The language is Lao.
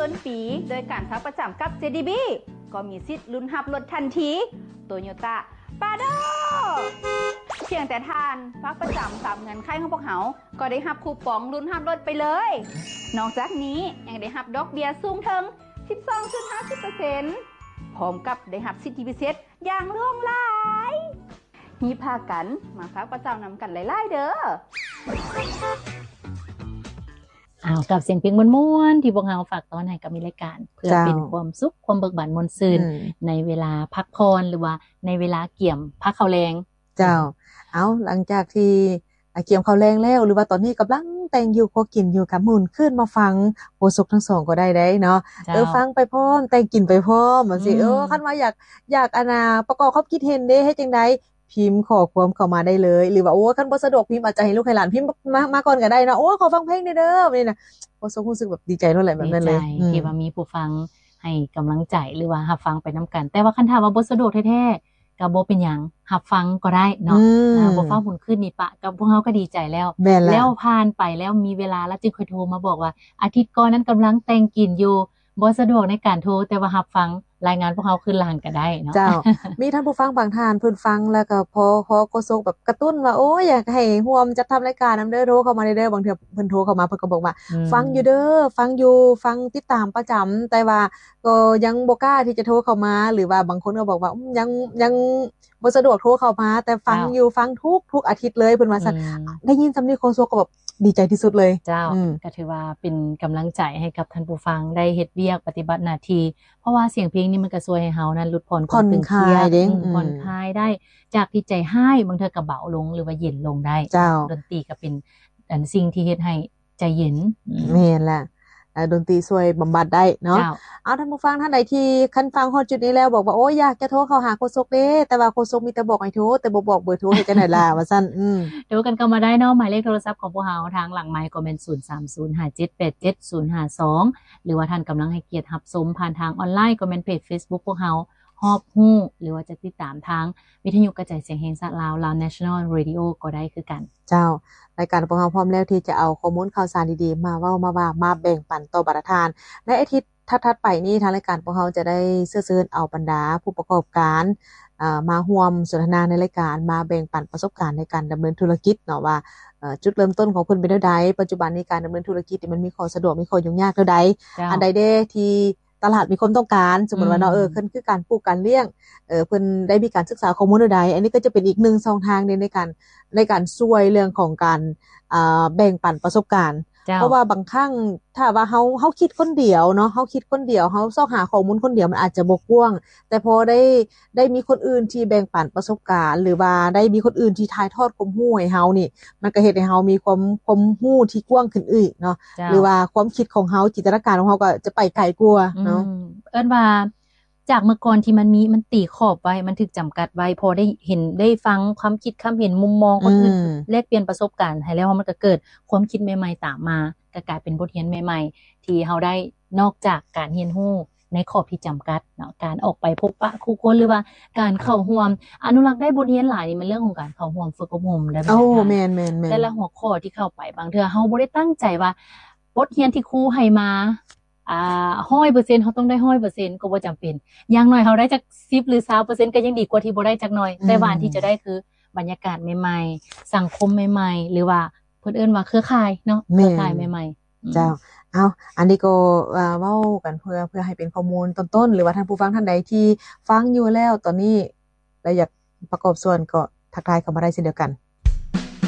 ຕົ້ນປີໂດຍການຝາກປະຈຳກັບ ເຈ ດີ ບີ ກໍມີສິດລຸ້ນຮັບລົດທັນທີ ໂຕໂຍຕ້າ ປາໂດ ພຽງແຕ່ທ່ານຝາກປະຈຳຕາມເງື່ອນໄຂຂອງພວກເຮົາ ກໍໄດ້ຮັບຄູປອງລຸ້ນຮັບລົດໄປເລີຍ. ນອກຈາກນີ້ຍັງໄດ້ຮັບດອກເບ້ຍສູງເຖິງ ສິບສອງຈຸດຫ້າສິບເປີເຊັນ ພ້ອມກັບໄດ້ຮັບສິດທິພິເສດຢ່າງຫຼວງຫຼາຍ. ຮີບພາກັນມາຝາກປະຈຳນຳກັນຫຼາຍໆເດີ້. ອ້າວ ກັບສຽງເພງມ່ວນໆ ທີ່ພວກເຮົາຝາກຕ້ອນໃຫ້ກັບມີລາຍການ ເພື່ອເຈົ້າ ເປັນຄວາມສຸກ ຄວາມເບີກບານມ່ວນຊື່ນ ອືມ ໃນເວລາພັກຜ່ອນ ຫຼືວ່າໃນເວລາກຽມພາກເຂົ້າແລງ. ເຈົ້າ ເອົາ ຫຼັງຈາກທີ່ ອາ ກຽມເຂົ້າແລງແລ້ວ ຫຼືວ່າຕອນນີ້ກຳລັງແຕ່ງຢູ່ ຄົວກິນຢູ່ ກໍໝູນຄືນມາຟັງໂຄສົກທັງສອງກໍໄດ້ເດ້ເນາະ. ເຈົ້າ ເອີ ຟັງໄປພ້ອມ ແຕ່ງກິນໄປພ້ອມ ຈັ່ງຊີ້. ອືມ ເອີ ຄັນວ່າຢາກ ຢາກ ອັນນ່າ ປະກອບຄວາມຄິດເຫັນເດ້ ເຮັດຈັ່ງໃດ? ພິມຂໍ້ຄວາມເຂົ້າມາໄດ້ເລີຍ ຫຼືວ່າ ໂອ້ ຄັນບໍ່ສະດວກພິມ ອາດຈະໃຫ້ລູກໃຫ້ຫຼານພິມມາ ມາກ່ອນກໍໄດ້ເນາະ. ໂອ້ ຂໍຟັງເພງແດ່ເດີ ແບບນີ້ນະ ໂຄສົກຮູ້ສຶກແບບດີໃຈໂລດແຫຼະ ແບບນັ້ນເລີຍ. ດີໃຈ ອືມ ທີ່ວ່າມີຜູ້ຟັງໃຫ້ກຳລັງໃຈ ຫຼືວ່າຮັບຟັງໄປນຳກັນ. ແຕ່ວ່າຄັນຖ້າວ່າບໍ່ສະດວກແທ້ໆ ກໍບໍ່ເປັນຫຍັງ ຮັບຟັງກໍໄດ້ເນາະ. ອືມ ອາ ບໍ່ຟ້າວໝູນຄືນນີ້ປະ ກັບພວກເຮົາກໍດີໃຈແລ້ວ. ແມ່ນແລ້ວ ແລ້ວຜ່ານໄປແລ້ວ ມີເວລາແລ້ວຈຶ່ງຄ່ອຍໂທມາບອກວ່າ ອາທິດກ່ອນນັ້ນກຳລັງແຕ່ງກິນຢູ່ ບໍ່ສະດວກໃນການໂທ ແຕ່ວ່າຮັບຟັງລາຍງານພວກເຮົາຄືນຫຼັງກໍໄດ້ເນາະ. ເຈົ້າ ມີທ່ານຜູ້ຟັງບາງທ່ານເພິ່ນຟັງແລ້ວກໍພໍ ພໍໂຄສົກແບບກະຕຸ້ນວ່າ ໂອ້ຍ ຢາກໃຫ້ຮ່ວມຈັດທຳລາຍການນຳເດີ ໂທເຂົ້າມາໄດ້ເດີ. ບາງເທື່ອເພິ່ນໂທເຂົ້າມາ ເພິ່ນກໍບອກວ່າ ອືມ ຟັງຢູ່ເດີ ຟັງຢູ່ ຟັງຕິດຕາມປະຈຳ ແຕ່ວ່າກໍຍັງບໍ່ກ້າທີ່ຈະໂທເຂົ້າມາ ຫຼືວ່າບາງຄົນກໍບອກວ່າ ອືມ ຍັງ ຍັງບໍ່ສະດວກໂທເຂົ້າມາ ແຕ່ຟັງ ເຈົ້າ ຢູ່ ຟັງທຸກ ທຸກອາທິດເລີຍ ເພິ່ນວ່າຊັ້ນ. ອືມ ໄດ້ຍິນສ່ຳນີ້ໂຄສົກກໍແບບ ດີໃຈທີ່ສຸດເລີຍ. ເຈົ້າ ອືມ ກໍຖືວ່າເປັນກຳລັງໃຈໃຫ້ກັບທ່ານຜູ້ຟັງໄດ້ເຮັດວຽກປະຕິບັດໜ້າທີ່ ເພາະວ່າສຽງເພງນີ້ມັນກໍຊ່ວຍໃຫ້ເຮົານັ້ນຫຼຸດຜ່ອນຄວາມຕຶງຄຽດ ຜ່ອນຄາຍເດ້ ອືມ ອືມ ຜ່ອນຄາຍໄດ້ ຈາກທີ່ໃຈຮ້າຍ ບາງເທື່ອກໍເບົາລົງ ຫຼືວ່າເຢັນລົງໄດ້. ເຈົ້າ ດົນຕີກໍເປັນອັນສິ່ງທີ່ເຮັດໃຫ້ໃຈເຢັນ. ອືມ ແມ່ນລະ ອາ ດົນຕີຊ່ວຍບຳບັດໄດ້ເນາະ. ເຈົ້າ ເອົາ ທ່ານຜູ້ຟັງທ່ານໃດທີ່ຄັນຟັງຮອດຈຸດນີ້ແລ້ວ ບອກວ່າ ໂອ້ຍ ຢາກຈະໂທເຂົ້າຫາໂຄສົກເດ້ ແຕ່ວ່າໂຄສົກມີແຕ່ບອກໃຫ້ໂທ ແຕ່ບໍ່ບອກເບີໂທ ເຮັດຈັ່ງໃດລະ ວ່າຊັ້ນ. ອືມ ໂທກັນເຂົ້າມາໄດ້ເນາະ ໝາຍເລກໂທລະສັບຂອງພວກເຮົາ ທາງຫຼັງໄມຄ໌ກໍແມ່ນ ສູນສາມສູນຫ້າເຈັດແປດເຈັດສູນຫ້າສອງ ຫຼືວ່າທ່ານກຳລັງໃຫ້ກຽດຮັບຊົມຜ່ານທາງອອນລາຍ ກໍແມ່ນເພຈເຟສບຸກພວກເຮົາ ຮອບຮູ້ ຫຼືວ່າຈະຕິດຕາມທາງວິທະຍຸກະຈາຍສຽງແຫ່ງຊາດລາວ Lao National Radio ກໍໄດ້ຄືກັນ. ເຈົ້າ ລາຍການຂອງເຮົາພ້ອມແລ້ວທີ່ຈະເອົາຂໍ້ມູນຂ່າວສານດີໆ ມາເວົ້າ ມາວ່າ ມາແບ່ງປັນຕໍ່ບັນດາທ່ານ. ໃນອາທິດຖັດໆໄປນີ້ ທາງລາຍການຂອງເຮົາຈະໄດ້ເຊື້ອເຊີນເອົາບັນດາຜູ້ປະກອບການ ເອີ ມາຮ່ວມສົນທະນາໃນລາຍການ ມາແບ່ງປັນປະສົບການໃນການດຳເນີນທຸລະກິດເນາະ ວ່າ ເອີ ຈຸດເລີ່ມຕົ້ນຂອງເພິ່ນເປັນແນວໃດ, ປັດຈຸບັນນີ້ການດຳເນີນທຸລະກິດນີ້ມັນມີຂໍ້ສະດວກ ມີຂໍ້ຫຍຸ້ງຍາກແນວໃດ, ເຈົ້າ ອັນໃດແດ່ທີ່ຕະຫຼາດມີຄວາມຕ້ອງການ, ສົມມຸດວ່າເນາະ ອືມ ເອີ ເພິ່ນຄືການປູກການລ້ຽງ ເອີ ເພິ່ນໄດ້ມີການສຶກສາຂໍ້ມູນແນວໃດ, ອັນນີ້ກໍຈະເປັນອີກໜຶ່ງຊ່ອງທາງໃນ ໃນການ ໃນການຊ່ວຍເລື່ອງຂອງການ ອ່າ ແບ່ງປັນປະສົບການ. ເຈົ້າ ເພາະວ່າບາງຄັ້ງຖ້າວ່າເຮົາ ເຮົາຄິດຄົນດຽວເນາະ ເຮົາຄິດຄົນດຽວ ເຮົາຊອກຫາຂໍ້ມູນຄົນດຽວ ມັນອາດຈະບໍ່ກວ້າງ, ແຕ່ພໍໄດ້ ໄດ້ມີຄົນອື່ນທີ່ແບ່ງປັນປະສົບການ ຫຼືວ່າໄດ້ມີຄົນອື່ນທີ່ຖ່າຍທອດຄວາມຮູ້ໃຫ້ເຮົານີ້ ມັນກໍເຮັດໃຫ້ເຮົາມີຄວາມ ຄວາມຮູ້ທີ່ກວ້າງຂຶ້ນອີກເນາະ. ເຈົ້າ ຫຼືວ່າຄວາມຄິດຂອງເຮົາ ຈິນຕະນາການຂອງເຮົາກໍຈະໄປໄກກວ່າເນາະ. ອືມ ເອີ້ນວ່າຈາກເມື່ອກ່ອນທີ່ມັນມີ ມັນຕີຂອບໄວ້ ມັນຖືກຈຳກັດໄວ້, ພໍໄດ້ເຫັນ ໄດ້ຟັງຄວາມຄິດຄຳເຫັນ ມຸມມອງຄົນອື່ນ ອືມ ແລກປ່ຽນປະສົບການໃຫ້ແລ້ວ ມັນກໍເກີດຄວາມຄິດໃໝ່ໆຕາມມາ ກໍກາຍເປັນບົດຮຽນໃໝ່ໆ ທີ່ເຮົາໄດ້ ນອກຈາກການຮຽນຮູ້ໃນຂອບທີ່ຈຳກັດເນາະ, ການອອກໄປພົບປະຄູ່ຄົນ ຫຼືວ່າການເຂົ້າຮ່ວມ ອະນຸລັກໄດ້ບົດຮຽນຫຼາຍນີ້ ແມ່ນເລື່ອງຂອງການເຂົ້າຮ່ວມຝຶກອົບຮົມໄດ້. ໂອ້ ແມ່ນໆໆ ແຕ່ລະຫົວຂໍ້ທີ່ເຂົ້າໄປ ບາງເທື່ອເຮົາບໍ່ໄດ້ຕັ້ງໃຈວ່າ ບົດຮຽນທີ່ຄູໃຫ້ມາ ອ່າ ຮ້ອຍເປີເຊັນ ເຮົາຕ້ອງໄດ້ຮ້ອຍເປີເຊັນ ກໍບໍ່ຈຳເປັນ, ຢ່າງໜ້ອຍເຮົາໄດ້ຈັກສິບ ຫຼື ຊາວເປີເຊັນ ກໍຍັງດີກວ່າທີ່ບໍ່ໄດ້ຈັກໜ້ອຍ. ອືມ ແຕ່ວ່າອັນທີ່ຈະໄດ້ຄືບັນຍາກາດໃໝ່ໆ ສັງຄົມໃໝ່ໆ ຫຼືວ່າ ເພິ່ນເອີ້ນວ່າເຄືອຂ່າຍເນາະ. ແມ່ນ ເຄືອຂ່າຍໃໝ່ໆ. ອືມ ເຈົ້າ ເອົາ ອັນນີ້ກໍ ອ່າ ເວົ້າກັນເພື່ອ ເພື່ອໃຫ້ເປັນຂໍ້ມູນຕົ້ນໆ ຫຼືວ່າທ່ານຜູ້ຟັງທ່ານໃດທີ່ຟັງຢູ່ແລ້ວຕອນນີ້ ແລະ ຢາກປະກອບສ່ວນ ກໍທັກທາຍເຂົ້າມາໄດ້ເຊັ່ນດຽວກັນ.